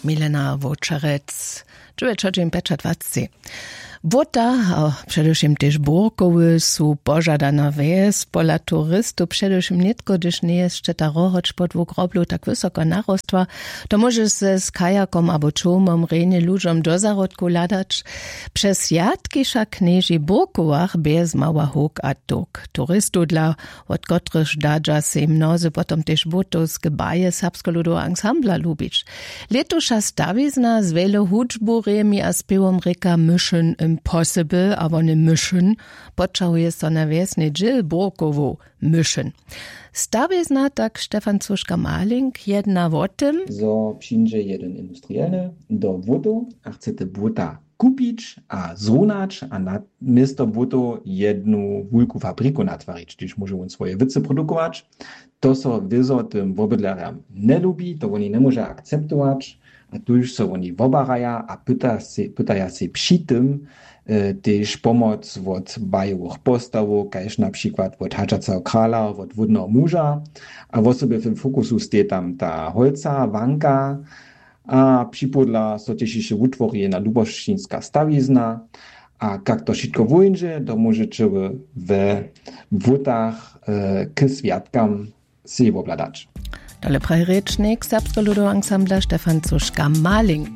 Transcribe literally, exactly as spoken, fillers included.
Milena Wočerec. Dźewjećaćim pjećadwaceći. Błota a předewšěm tež burkowy su požadana wjes. Pola turistow předewšěm nětko, hdyž njeje šćeta rohoć po dwóch groblow tak wysoko narostła, to móžeš se z kajakom abo čołmom rjenje ludźom do zahrodkow hladać. Přez swjatki wšak knježi w burkowach bjez mała huk a tuk turistow dla, wot kotrychž dadźa sej mnozy potom tež błotowske baje serbskeho ludoweho ansambla lubić. Lětuša stawizna z wjele hudźbu rjemi a spěwom rěka Mission Impossible a wone Mission poćahuje so na wjesny dźěl burkowow. Mission. Stawizna tak Stefan Cuška Maling jedna wo tym, zo přińdźe jedyn industrielny do błotow a chce te błota kupić a zrunać a na město błótow jednu wulku fabriku natwarić, hdyž móže wón swoje wěcy produkować. To so wězo tym wobydlerjam njelubi, to woni njemóža akceptować. A tuž so woni wobaraja a pyta sej- pytaja sej při tym tež pomoc wot bajowych postawow, kaž na přikład wot hadźaceho krala, wot wódneho muža. A wosebje w tym fokusu steji tam ta holca wanka. A připodla so tež hišće wutwori jedna lubosćinska stawizna. A kak to wšitko wóńdźe, to móžeće we wótach k swjatkam sej wobhladać. Tole praji rěčnik serbskeho ludoweho ansambla Stefan Cuška Maling.